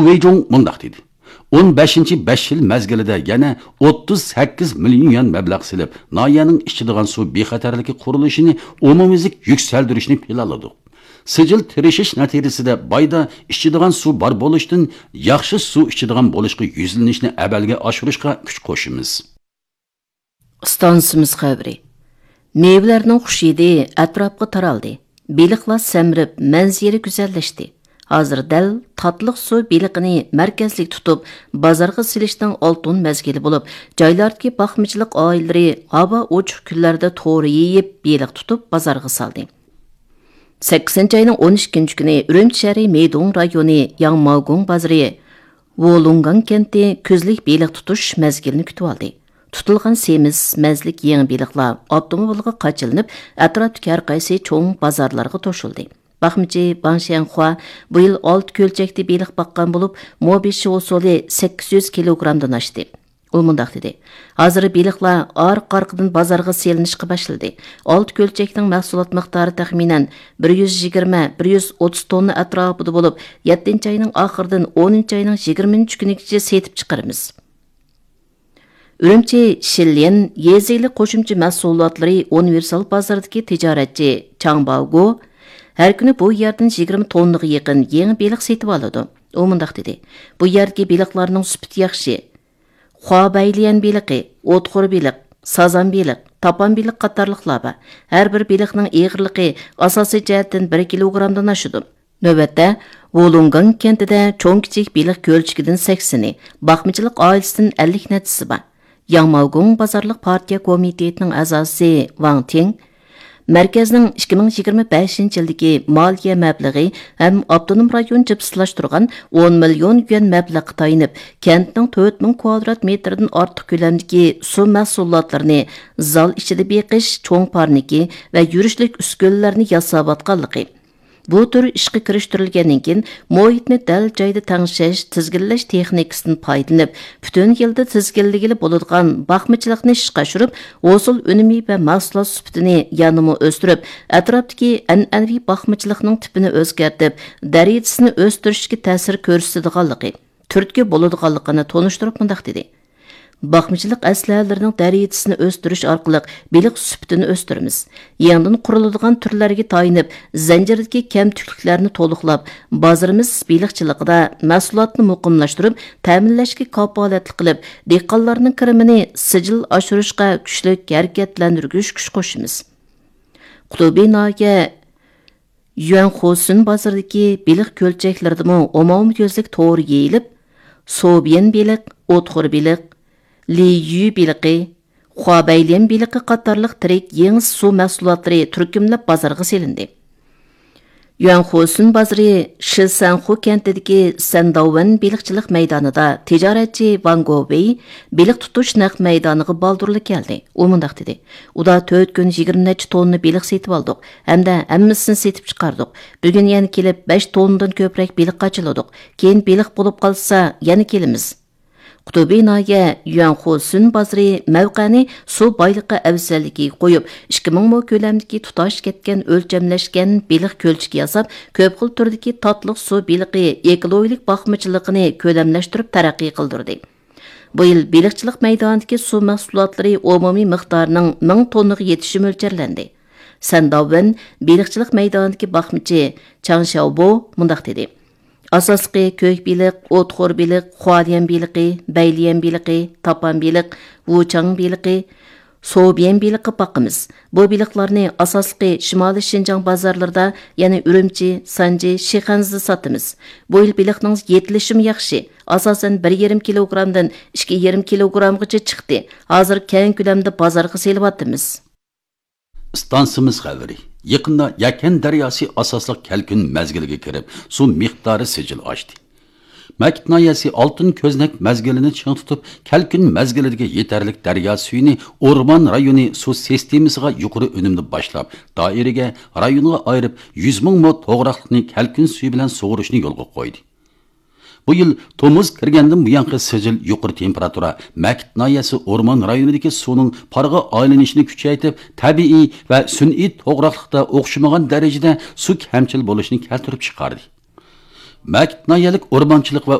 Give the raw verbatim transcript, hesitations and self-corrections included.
ۋېيجۇڭ مۇنداق دېدى: «ئون بەشىنچى بەش يىل مەزگىلىدە يەنە ئوتتۇز سەككىز مىليون يۈەن مەبلەغ سېلىپ، ناھىيەنىڭ ئىچىدىغان سۇ بىخەتەرلىكى قۇرۇلۇشىنى ئومۇميۈزلۈك يۈكسەلدۈرۈشنى پىلانلىدۇق. سىجىل تىرىشىش نەتىجىسىدە بايدا ئىچىدىغان سۇ بار بولۇشتىن ياخشى سۇ ئىچىدىغان بولۇشقا يۈزلىنىشنى ئەمەلگە ئاشۇرۇشقا كۈچ قوشىمىز.» ئىستانسىمىز خەۋىرى. مېۋىلەرنىڭ خۇش ھىدى ئەتراپقا تارالدى. بېلىقلار سەمرىپ، مەنزىرە گۈزەللەشتى. ھازىر دەل تاتلىق سۇ بېلىقىنى مەركەزلىك تۇتۇپ، بازارغا سېلىشنىڭ ئالتۇن مەزگىلى بولۇپ، جايلاردىكى باقمىچىلىق ئائىلىلىرى ھاۋا ئوچۇق كۈنلەردە تور يېيىپ، بېلىق تۇتۇپ، بازارغا سالدى. سەككىزىنچى ئاينىڭ ئون ئىككىنچى كۈنى ئۈرۈمچى شەھىرى مېيدۇڭ رايونى ياڭماۋگۇڭ بازىرى ۋولۇڭگاڭ كەنتى كۈزلۈك بېلىق تۇتۇش مەزگىلىنى كۈتۈۋالدى. تۇتۇلغان سېمىز مەززىلىك يېڭى بېلىقلار ئاپتوموبىلغا قاچىلىنىپ، ئەتراپتىكى ھەر قايسى چوڭ بازارلارغا توشۇلدى. باقمىچى باڭ شيەنخۇا بۇ يىل ئالتە كۆلچەكتە بېلىق باققان بولۇپ، مو بېشى ھوسۇلى سەككىز يۈز كىلوگرامدىن ئاشتى. ئۇ مۇنداق دېدى: «ھازىر بېلىقلار ئارقا-ئارقىدىن بازارغا سېلىنىشقا باشلىدى. ئالتە كۆلچەكنىڭ مەھسۇلات مىقدارى تەخمىنەن بىر يۈز يىگىرمە، بىر يۈز ئوتتۇز توننا ئەتراپىدا بولۇپ، يەتتىنچى ئاينىڭ ئاخىرىدىن ئونىنچى ئاينىڭ يىگىرمىنچى كۈنىگىچە سېتىپ چىقىرىمىز.» ئۈرۈمچى شىليەن يېزا ئىگىلىك قوشۇمچە مەھسۇلاتلىرى ئۇنىۋېرسال بازىرىدىكى تىجارەتچى چاڭ باۋگو ھەر كۈنى بۇ يەردىن يىگىرمە توننىغا يېقىن يېڭى بېلىق سېتىۋالىدۇ. ئۇ مۇنداق دېدى: «بۇ يەردىكى بېلىقلارنىڭ سۈپىتى ياخشى. خۇا بەيليەن بېلىقى، ئوتخور بېلىق، سازان بېلىق، تاپان بېلىق قاتارلىقلار بار. ھەر بىر بېلىقنىڭ ئېغىرلىقى ئاساسىي جەھەتتىن بىر كىلوگرامدىن ئاشىدۇ.» نۆۋەتتە، ۋولۇڭگاڭ كەنتىدە چوڭ-كىچىك بېلىق كۆلچىكىدىن سەكسىنى، باقمىچىلىق ئائىلىسىدىن ئەللىك نەچچىسى بار. ياڭماۋگۇڭ بازارلىق پارتىيە كومىتېتىنىڭ ئەزاسى ۋاڭ تىڭ مەركەزنىڭ ئىككى مىڭ يىگىرمە بەشىنچى يىلدىكى مالىيە مەبلىغى ھەم ئاپتونوم رايون جىپسىلاشتۇرغان ئون مىليون يۈەن مەبلەغقە تايىنىپ، كەنتنىڭ تۆت مىڭ كۋادرات مېتىردىن ئارتۇق كۆلەمدىكى سۇ مەھسۇلاتلىرىنى زال ئىچىدە بېقىش، چوڭ پارنىكى ۋە يۈرۈشلۈك ئۈسكۈنىلەرنى ياساۋاتقانلىقى، بۇ تۈر ئىشقا كىرىشتۈرۈلگەندىن كېيىن، مۇھىتنى دەل جايىدا تەڭشەش، تىزگىنلەش تېخنىكىسىدىن پايدىلىنىپ، پۈتۈن يىلدا تىزگىنلىگىلى بولىدىغان باقمىچىلىقنى ئىشقا ئاشۇرۇپ، ھوسۇل ئۈنۈمى ۋە مەھسۇلات سۈپىتىنى يەنىمۇ ئۆستۈرۈپ، ئەتراپتىكى ئەنئەنىۋى باقمىچىلىقنىڭ تىپىنى ئۆزگەرتىپ، دەرىجىسىنى ئۆستۈرۈشكە تەسىر كۆرسىتىدىغانلىقى، تۈرتكە بولىدىغانلىقىنى تونۇشتۇرۇپ مۇنداق دېدى: «باقمىچىلىق ئەسلىھەلىرىنىڭ دەرىجىسىنى ئۆستۈرۈش ئارقىلىق بېلىق سۈپىتىنى ئۆستۈرىمىز. يېڭىدىن قۇرۇلىدىغان تۈرلەرگە تايىنىپ، زەنجىردىكى كەمتۈكلۈكلەرنى تولۇقلاپ، بازىرىمىز بېلىقچىلىقىدا مەھسۇلاتنى مۇقىملاشتۇرۇپ، تەمىنلەشكە كاپالەتلىك قىلىپ، دېھقانلارنىڭ كىرىمىنى سىجىل ئاشۇرۇشقا كۈچلۈك ھەرىكەتلەندۈرگۈچ كۈچ قوشىمىز.» قۇتۇبى ناھىيە يۈەنخۇسۈن بازىرىدىكى بېلىق كۆلچەكلىرىدىمۇ ئومۇميۈزلۈك تور يېيىلىپ، سوبيەن بېلىق، ئوتخور بېلىق، لىيۈ بېلىقى، خۇابەيليەن بېلىقى قاتارلىق تىرىك يېڭى سۇ مەھسۇلاتلىرى تۈركۈملەپ بازارغا سېلىندى. يۈەنخۇسۈن بازىرى شىسەنخۇ كەنتىدىكى سەنداۋۋەن بېلىقچىلىق مەيدانىدا تىجارەتچى ۋاڭ گوۋېي بېلىق تۇتۇش نەق مەيدانىغا بالدۇرلا كەلدى. ئۇ مۇنداق دېدى: «ئۇدا تۆت كۈن يىگىرمە نەچچە توننا بېلىق سېتىۋالدۇق ھەمدە ھەممىسىنى سېتىپ چىقاردۇق. بۈگۈن يەنە كېلىپ بەش توننىدىن كۆپرەك بېلىق قاچىلىدۇق. كېيىن بېلىق بولۇپ قالسا يەنە كېلىمىز.» قۇتۇبى ناھىيە يۈەنخۇسۈن بازىرى مەۋقەنى سۇ بايلىقى ئەۋزەللىكىگە قويۇپ، ئىككى مىڭ مو كۆلەمدىكى تۇتاش كەتكەن ئۆلچەملەشكەن بېلىق كۆلچىكى ياساپ، كۆپ خىل تۈردىكى تاتلىق سۇ بېلىقى ئېكولوگىيەلىك باقمىچىلىقىنى كۆلەملەشتۈرۈپ تەرەققىي قىلدۇردى. بۇ يىل بېلىقچىلىق مەيدانىدىكى سۇ مەھسۇلاتلىرى ئومۇمىي مىقدارىنىڭ مىڭ توننىغا يېتىشى مۆلچەرلەندى. سەنداۋۋېن بېلىقچىلىق مەيدانىدىكى باقمىچى چاڭ شياۋبو مۇنداق دېدى: «ئاساسلىقى كۆك بېلىق، ئوتخور بېلىق، خۇاليەن بېلىقى، بەيليەن بېلىقى، تاپان بېلىق، ۋۇچاڭ بېلىقى، سوبيەن بېلىقى باقىمىز. بۇ بېلىقلارنى ئاساسلىقى شىمالىي شىنجاڭ بازارلىرىدا، يەنى ئۈرۈمچى، سانجى، شىخەنزىدە ساتىمىز. بۇ يىل بېلىقنىڭ يېتىلىشىمۇ ياخشى. ئاساسەن بىر يېرىم كىلوگرامدىن ئىككى يېرىم كىلوگرامغىچە چىقتى. ھازىر كەڭ كۆلەمدە بازارغا سېلىۋاتىمىز.» ئىستانسىمىز خەۋىرى. يېقىندا يەكەن دەرياسى ئاساسلىق كەلكۈن مەزگىلىگە كىرىپ، سۇ مىقدارى سىجىل ئاشتى. مەكىت ناھىيەسى ئالتۇن كۆزنەك مەزگىلىنى چىڭ تۇتۇپ، كەلكۈن مەزگىلىدىكى يېتەرلىك دەريا سۈيىنى ئورمان رايونى سۇ سىستېمىسىغا يۇقىرى ئۈنۈمدە باشلاپ، دائىرىگە، رايونغا ئايرىپ، يۈز مىڭ مو توغراقلىقنى كەلكۈن سۈيى بىلەن سۇغۇرۇشنى يولغا قويدى. بۇ يىل تومۇز كىرگەندىن بۇيانقى سىجىل يۇقىرى تېمپېراتۇرا مەكىت ناھىيەسى ئورمان رايونىدىكى سۇنىڭ پارغا ئايلىنىشىنى كۈچەيتىپ، تەبىئىي ۋە سۈنئىي توغراقلىقتا ئوخشىمىغان دەرىجىدە سۇ كەمچىل بولۇشىنى كەلتۈرۈپ چىقاردى. مەكىت ناھىيەلىك ئورمانچىلىق ۋە